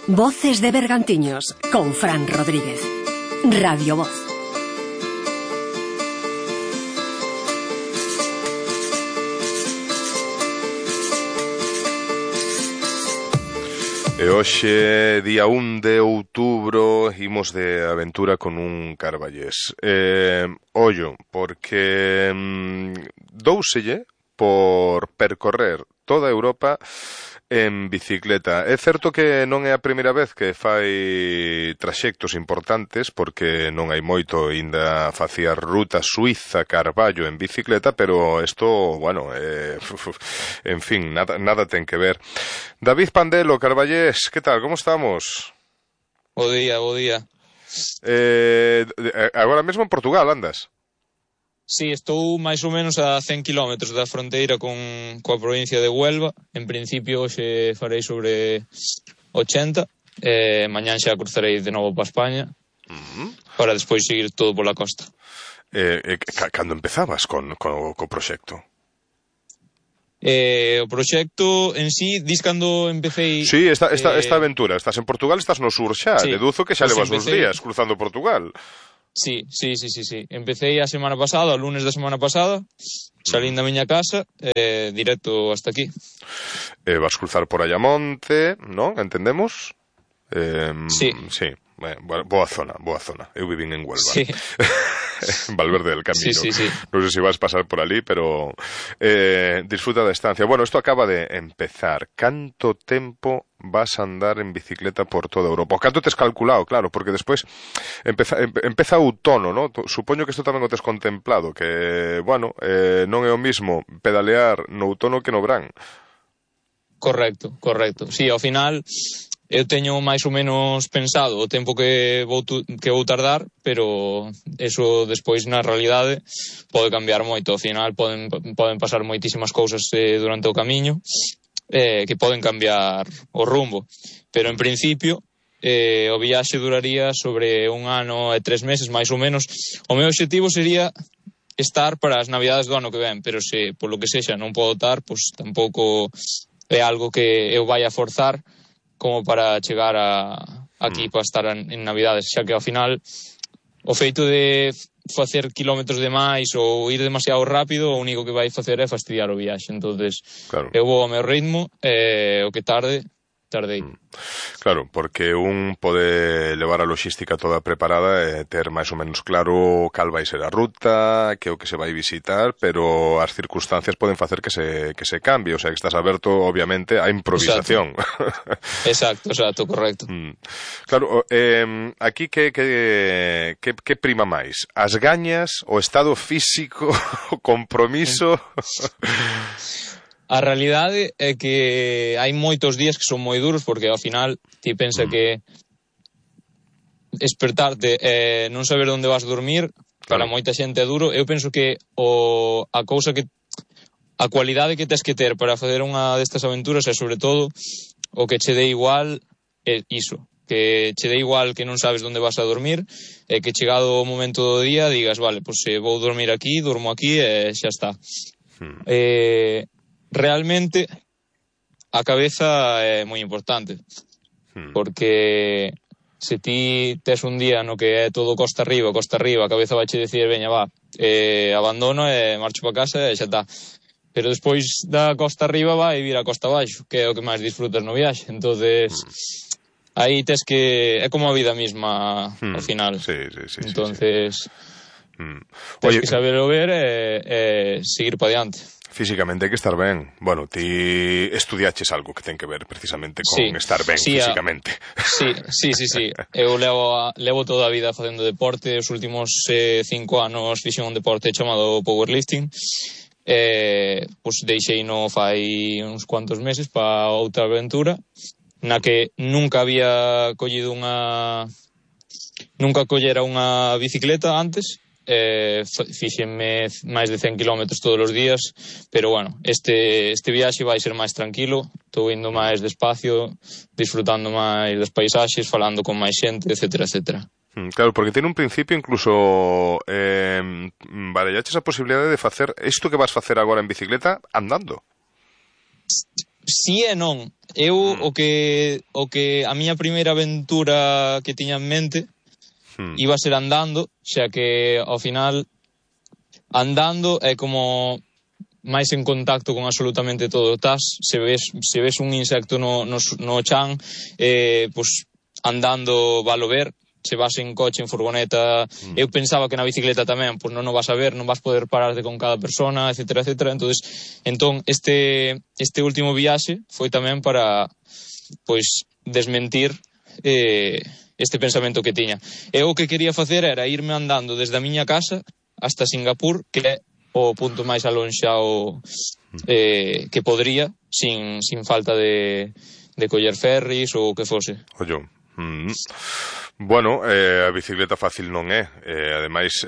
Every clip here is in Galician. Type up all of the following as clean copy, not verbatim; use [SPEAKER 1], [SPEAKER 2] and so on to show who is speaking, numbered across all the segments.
[SPEAKER 1] Voces de Bergantiños con Fran Rodríguez. Radio Voz.
[SPEAKER 2] E hoxe, día 1 de outubro, imos de aventura con un carballés. Ollo, porque douselle por percorrer toda Europa en bicicleta. É certo que non é a primeira vez que fai traxectos importantes, porque non hai moito, ainda facía ruta Suiza-Carballo en bicicleta, pero isto, bueno, en fin, nada ten que ver. David Pandelo, carballés, que tal, como estamos?
[SPEAKER 3] Bo día.
[SPEAKER 2] Agora mesmo en Portugal andas?
[SPEAKER 3] Sí, estou máis ou menos a 100 km da fronteira coa provincia de Huelva. En principio hoxe farei sobre 80, mañán xa cruzarei de novo para España, para despois seguir todo pola costa.
[SPEAKER 2] Cando empezabas co proxecto?
[SPEAKER 3] O proxecto en sí, dis cando empecéi...
[SPEAKER 2] Sí, esta aventura, estás en Portugal, estás no sur xa, sí, deduzo que xa levas uns días cruzando Portugal.
[SPEAKER 3] Sí. Empecé a semana pasada, o lunes da semana pasada, salín da miña casa, directo hasta aquí.
[SPEAKER 2] Vas cruzar por Ayamonte, non? Entendemos?
[SPEAKER 3] Sí.
[SPEAKER 2] Sí, boa zona. Eu vivín en Huelva.
[SPEAKER 3] Sí.
[SPEAKER 2] Valverde del Camino.
[SPEAKER 3] Sí.
[SPEAKER 2] Non sei se vas pasar por ali, pero disfruta da estancia. Bueno, isto acaba de empezar. Canto tempo vas a andar en bicicleta por toda Europa? O canto tes calculado, claro, porque despois empeza o outono, ¿no? Supoño que isto tamén o tes contemplado, que, bueno, non é o mismo pedalear no outono que no verán.
[SPEAKER 3] Correcto. Sí, ao final eu teño máis ou menos pensado o tempo que vou tardar, pero eso despois na realidade pode cambiar moito. Ao final poden pasar moitísimas cousas durante o camiño que poden cambiar o rumbo, pero en principio o viaxe duraría sobre 1 ano e 3 meses máis ou menos. O meu obxectivo sería estar para as navidades do ano que ven, pero se polo que sexa non podo estar, pois tampouco é algo que eu vai a forzar como para chegar aquí para estar en navidades, xa que ao final o feito de facer kilómetros de máis ou ir demasiado rápido, o único que vai facer é fastidiar o viaxe. Entonces, claro, eu vou ao meu ritmo, o que tardei.
[SPEAKER 2] Claro, porque un pode levar a logística toda preparada e ter máis ou menos claro cal vai ser a ruta, que é o que se vai visitar, pero as circunstancias poden facer que se cambie, o sea, que estás aberto, obviamente, á improvisación.
[SPEAKER 3] Exacto, correcto.
[SPEAKER 2] Claro, aquí que prima máis? As gañas, o estado físico, o compromiso?
[SPEAKER 3] A realidade é que hai moitos días que son moi duros, porque ao final ti pensa que despertarte e non saber onde vas dormir, para moita xente é duro. Eu penso que a cualidade que tes que ter para facer unha destas aventuras é sobre todo o que che dé igual é iso, que che dé igual que non sabes onde vas a dormir, e que chegado o momento do día digas, vale, pois vou dormir aquí, durmo aquí e xa está. Realmente a cabeza é moi importante, porque se ti tes un día no que é todo costa arriba, a cabeza vai che dicir, veña, va, abandono e marcho para casa e xa está. Pero despois da costa arriba vai vir a costa abaixo, que é o que máis disfrutas no viaxe. Entonces aí tes que... é como a vida mesma ao final.
[SPEAKER 2] Sí.
[SPEAKER 3] Entonces tes que saberlo ver e seguir para diante.
[SPEAKER 2] Físicamente hai que estar ben. Bueno, ti estudiaches algo que ten que ver precisamente con estar ben físicamente.
[SPEAKER 3] Sí. Eu levo toda a vida facendo deporte. Os últimos 5 anos fixen un deporte chamado powerlifting. Pois deixei no fai uns cuantos meses para outra aventura na que nunca collera unha bicicleta antes. Fíxenme máis de 100 km todos os días, pero bueno, este viaxe vai ser máis tranquilo. Estou indo máis despacio, disfrutando máis das paisaxes, falando con máis xente, etcétera.
[SPEAKER 2] Claro, porque tiene un principio incluso barallaches a posibilidade de facer isto que vas facer agora en bicicleta andando.
[SPEAKER 3] Si e non. Eu o que a miña primeira aventura que tiña en mente iba a ser andando, xa que ao final andando é como máis en contacto con absolutamente todo. Se ves un insecto no chan, pues andando valo ver. Se vas en coche, en furgoneta, eu pensaba que na bicicleta tamén, pues non o vas a ver, non vas poder pararte con cada persona, etcétera, etcétera. Entón este último viaxe foi tamén para, pois, desmentir este pensamento que tiña. Eu o que quería facer era irme andando desde a miña casa hasta Singapur, que é o punto máis alonxado que podría, sin falta de coller ferries ou o que fose.
[SPEAKER 2] Ollo. Bueno, a bicicleta fácil non é. Ademais,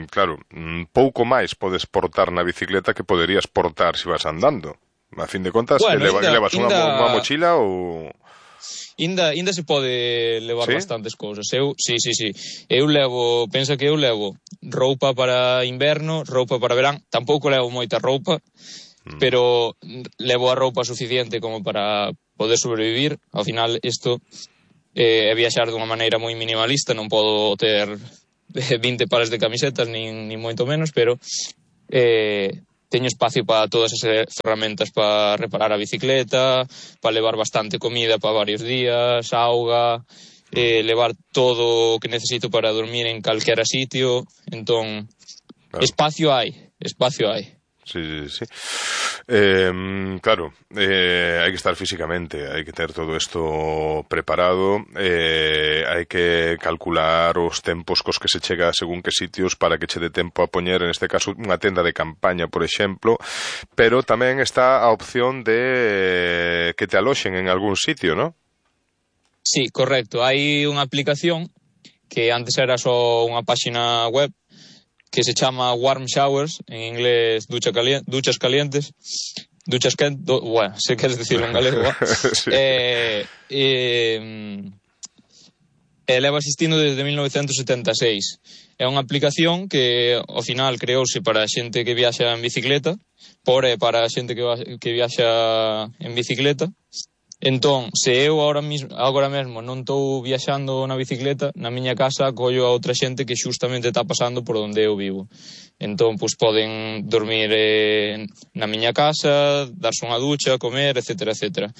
[SPEAKER 2] claro, pouco máis podes portar na bicicleta que poderías portar se vas andando. A fin de contas, bueno, levas unha mochila ou...
[SPEAKER 3] Inda se pode levar bastantes cousas. Sí. Eu levo, pensa que eu levo roupa para inverno, roupa para verán. Tampouco levo moita roupa, pero levo a roupa suficiente como para poder sobrevivir. Ao final, isto é viaxar dunha maneira moi minimalista. Non podo ter 20 pares de camisetas, nin moito menos, pero teño espacio para todas as ferramentas para reparar a bicicleta, para levar bastante comida para varios días, auga, levar todo o que necesito para dormir en calquera sitio. Entón, claro. Espacio hai.
[SPEAKER 2] Sí. Claro, hai que estar físicamente, hai que ter todo isto preparado, hai que calcular os tempos cos que se chega según que sitios para que che dé tempo a poñer, en este caso, unha tenda de campaña, por exemplo, pero tamén está a opción de que te aloxen en algún sitio, ¿no?
[SPEAKER 3] Sí, correcto. Hai unha aplicación que antes era só unha páxina web que se chama Warm Showers, en inglés duchas calientes, bueno, se queres decirlo en galego, sí. Leva existindo desde 1976. É unha aplicación que ao final creouse para a xente que viaxa en bicicleta, para a xente que viaxa en bicicleta. Entón, se eu agora mesmo non estou viaxando na bicicleta, na miña casa collo a outra xente que xustamente está pasando por onde eu vivo. Entón, pois poden dormir na miña casa, darse unha ducha, comer, etcétera, etcétera.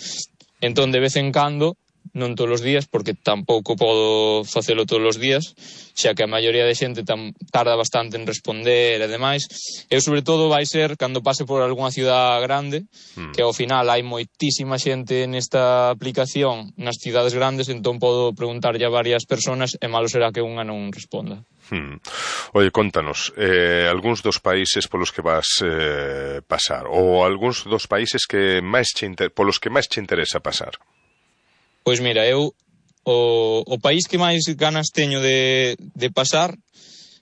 [SPEAKER 3] Entón, de vez en cando, non todos os días, porque tampouco podo facelo todos os días, xa que a maioría de xente tarda bastante en responder e demais. Eu, sobre todo, vai ser cando pase por algunha ciudad grande, que ao final hai moitísima xente nesta aplicación nas cidades grandes, entón podo preguntarlle a varias personas e malo será que unha non responda.
[SPEAKER 2] Oye, contanos, algúns dos países polos que vas pasar, ou algúns dos países que polos que máis che interesa pasar.
[SPEAKER 3] Pois mira, eu o país que máis ganas teño de pasar,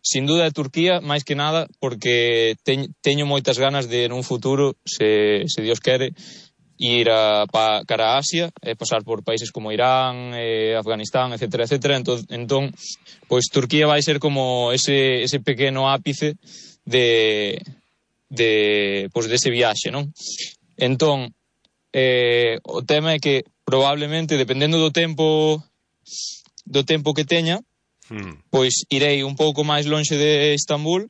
[SPEAKER 3] sin duda é Turquía, máis que nada, porque teño moitas ganas de, nun futuro, se Dios quere, ir cara a Asia, e pasar por países como Irán, Afganistán, etcétera, etcétera. Entón, pois Turquía vai ser como ese pequeno ápice de ese viaxe, non? Entón, o tema é que probablemente, dependendo do tempo que teña, pois irei un pouco máis lonxe de Istambul,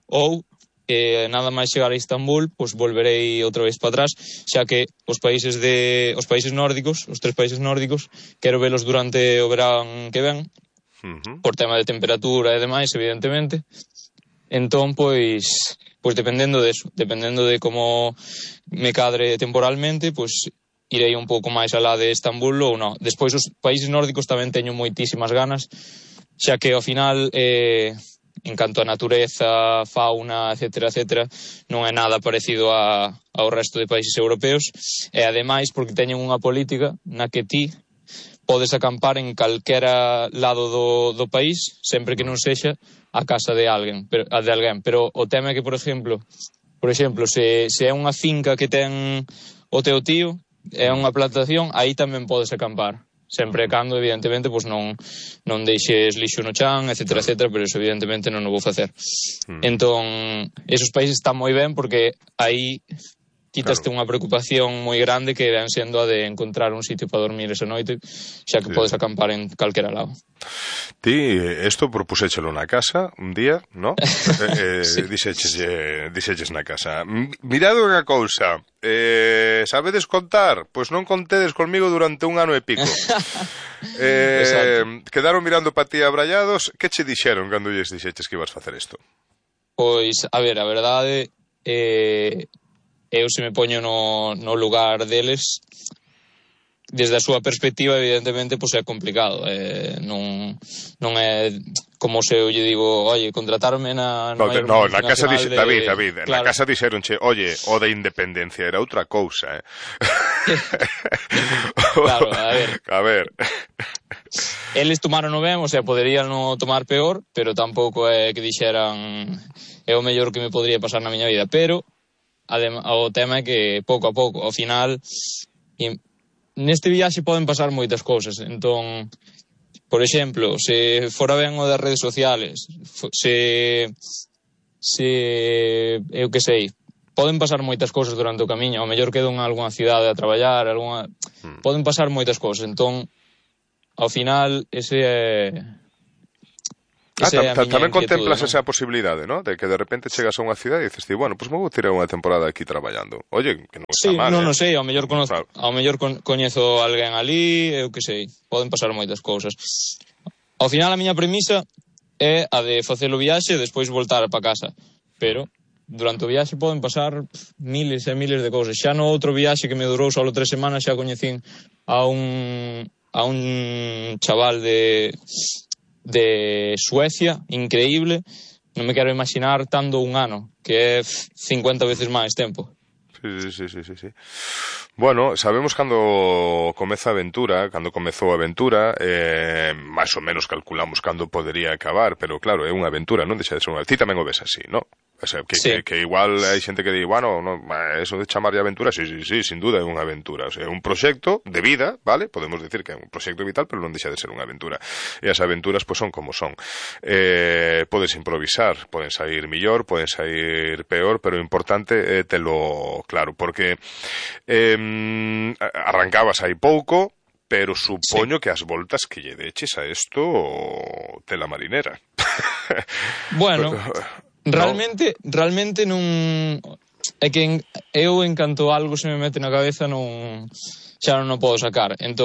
[SPEAKER 3] ou nada máis chegar a Istambul, pois volverei outra vez para atrás, xa que os países nórdicos, os 3 países nórdicos, quero velos durante o verán que ven, por tema de temperatura e demais, evidentemente. Entón, pois dependendo de como me cadre temporalmente, pois irei un pouco máis alá de Estambul ou non. Despois, os países nórdicos tamén teño moitísimas ganas, xa que ao final, en canto a natureza, fauna, etcétera, etcétera, non é nada parecido ao resto de países europeos, e ademais porque teñen unha política na que ti podes acampar en calquera lado do país, sempre que non sexa a casa de alguén, pero o tema é que, por exemplo, se é unha finca que ten o teu tío, é unha plantación, aí tamén podes acampar, sempre e cando, evidentemente, pois non deixes lixo no chan, etcétera, etcétera, pero eso evidentemente non o vou facer. Entón, esos países están moi ben porque aí quítaste unha preocupación moi grande que ven sendo a de encontrar un sitio para dormir esa noite, xa que podes acampar en calquera lado.
[SPEAKER 2] Ti, isto propuséchelo na casa un día, ¿no?
[SPEAKER 3] Sí.
[SPEAKER 2] Dixeches na casa. Mirad unha cousa, sabedes contar? Pois non contedes conmigo durante 1 ano e pico. Quedaron mirando pa ti abrallados. Que che dixeron cando lles dixeches que ibas facer isto?
[SPEAKER 3] Pois, a ver, a verdade, eu se me poño no lugar deles, desde a súa perspectiva, evidentemente, pois é complicado. Non é como se eu lle digo, oye, contratarme na
[SPEAKER 2] na casa
[SPEAKER 3] de...
[SPEAKER 2] David,
[SPEAKER 3] claro.
[SPEAKER 2] na casa dixeronche, oye, o da independencia era outra cousa,
[SPEAKER 3] Claro, a ver. Eles tomaron ben, o sea, poderían non tomar peor, pero tampouco é que dixeran é o mellor que me podría pasar na miña vida, pero o tema é que pouco a pouco, ao final neste viaxe poden pasar moitas cousas. Entón, por exemplo, se fora ben o das redes sociales, se eu que sei, poden pasar moitas cousas durante o camiño, ao mellor quedo en algunha cidade a traballar, poden pasar moitas cousas. Entón, ao final, ese é
[SPEAKER 2] tamén contemplas,
[SPEAKER 3] ¿no?
[SPEAKER 2] esa posibilidade, ¿no? De que de repente chegas a unha cidade e dices, bueno, pues me vou tirar unha temporada aquí traballando. Oye, que non está mal,
[SPEAKER 3] non sei, ao mellor coñezo alguén ali, eu que sei, poden pasar moitas cousas. Ao final a miña premisa é a de facer o viaxe e despois voltar para casa, pero durante o viaxe poden pasar miles e miles de cousas. Xa no outro viaxe que me durou só 3 semanas xa coñecín a un chaval de Suecia, increíble. Non me quero imaginar tanto 1 ano, que é 50 veces máis tempo.
[SPEAKER 2] Sí. Bueno, sabemos cando comezou a aventura, máis ou menos calculamos cando podería acabar, pero claro, é unha aventura, non deixa de ser unha... Ti tamén o ves así, non? O sea, que igual hai xente que di, bueno, no, eso de chamar de aventura, sí, sin duda é unha aventura. O sea, é un proxecto de vida, vale? Podemos decir que é un proxecto vital, pero non deixa de ser unha aventura. E as aventuras, pois, son como son. Podes improvisar, poden sair millor, poden sair peor, pero o importante é telo claro, porque arrancabas hai pouco, pero supoño que as voltas que lle deches a isto tela marinera.
[SPEAKER 3] Bueno, realmente non... É que eu en canto algo se me mete na cabeza xa non o podo sacar. Entón,